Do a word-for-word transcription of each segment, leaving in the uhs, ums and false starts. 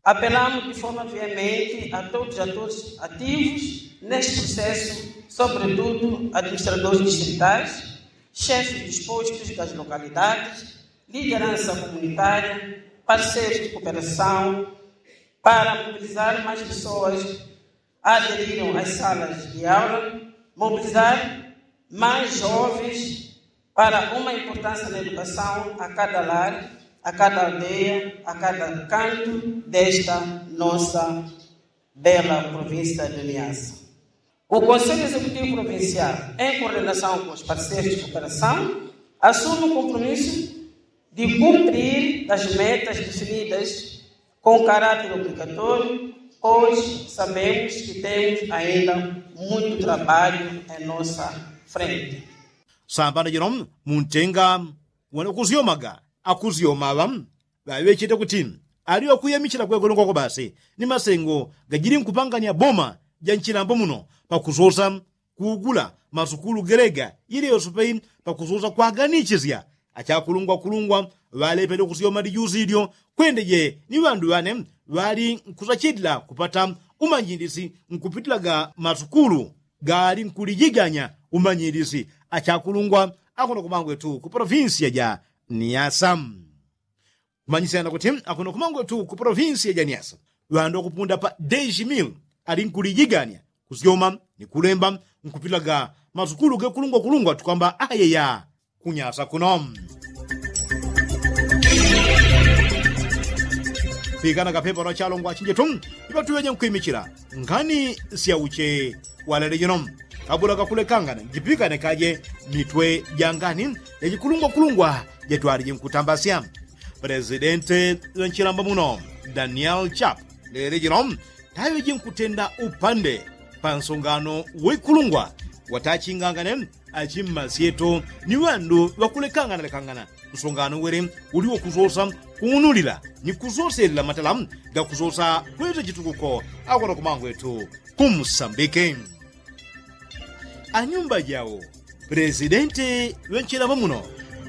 Apelamos de forma veemente a todos os atores ativos neste processo, sobretudo administradores distritais, chefes dos postos das localidades, liderança comunitária, parceiros de cooperação, para mobilizar mais pessoas aderirem às salas de aula, mobilizar mais jovens para uma importância na educação a cada lar, a cada aldeia, a cada canto desta nossa bela província de Niassa. O Conselho Executivo Provincial, em coordenação com os parceiros de cooperação, assume o compromisso de cumprir as metas definidas com caráter obrigatório, pois sabemos que temos ainda muito trabalho em nossa frente. Sambano jino muntenga wana kusyoma ga akusyoma aŵa ŵaŵechete kuti ali ŵakuyamichila kwekulungwa kwa basi ni masengo gajili nkupangania boma ja nchilambo muno pakusosa kuugula masukulu gelega ili yosepe pakusosa kwaganishisya achakulungwa kulungwa ŵalepele kusyoma lijusi ilyo kwendeje ni ŵandu ŵane ŵali nkusachitila kupata umanyilisi nkupitilaga masukulu gali nkulijiganya umanyilisi achakulungwa akuno kumangwetu ku polofinsiya ja niasa. Kumanyisyana kuti akuno kumangwetu ku polofinsiya ja niasa ŵandu akupunda pa dejimil ali nkulijiganya kusyoma ni kulemba nkupitilaga masukulu gekulungwa kulungwa tukwamba ayeya kunyasa kuno pikana kapepa lwa chalongwa chinjetu ipatuŵeje nkwimichila ngani syauche walele jino kabula kakulekangana njipikane kaje mitwe ja ngani jajikulungwa kulungwa jatwalije nkutambasya. Presidente ŵenchilamba muno daniel chap lele jino taŵeje nkutenda upande pa nsongano weikulungwa watachingangane achimmasyeto ni ŵandu ŵakulekangana lekangana nsongano wele uli wakusosa kung'unulila ni kusoselela matala gakusosa kweta chitukuko akwata kumangwetu kumsambike. Anyumba jawo presidenti ŵenchilamba muno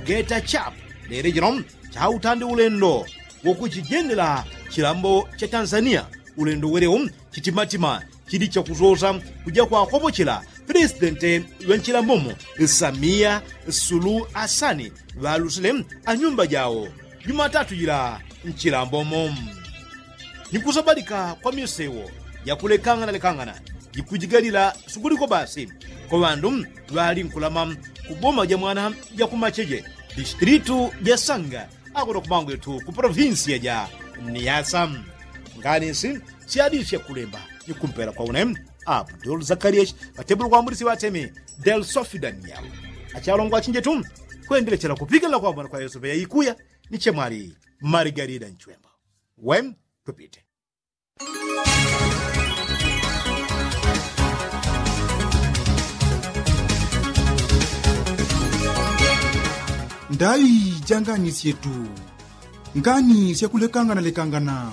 geta chap lele jino chautandi ulendo wakuchijendela chilambo cha tanzania ulendo welewo chitimatima chili chakusosa kuja kwakopochela presidenti ŵenchilambomo samiya sulu asani ŵalusile anyumba jawo jumatatu jila nchilambomo ni kusabalika kwa misewo jakulekangana lekangana jikujigalila sukuliko basi kwa ŵandu ŵali nkulama kuboma ja mwana jakumacheje distilitu ja sanga akuno kumangwetu ku polofinsiya ja niasa. Ngani nsi syadisya kulemba ni kumpela kwa une abdul zakariya ŵatebulu kwambulisi ŵatemi del sofi daniel achalongwa chinjetu kwendelechela kupiganila kwambona kwa yosepe yaikuya ni chemwali marigarida nchwembo. Wen tupite. Ndaŵi ja ngani syetu ngani syakulekangana lekangana.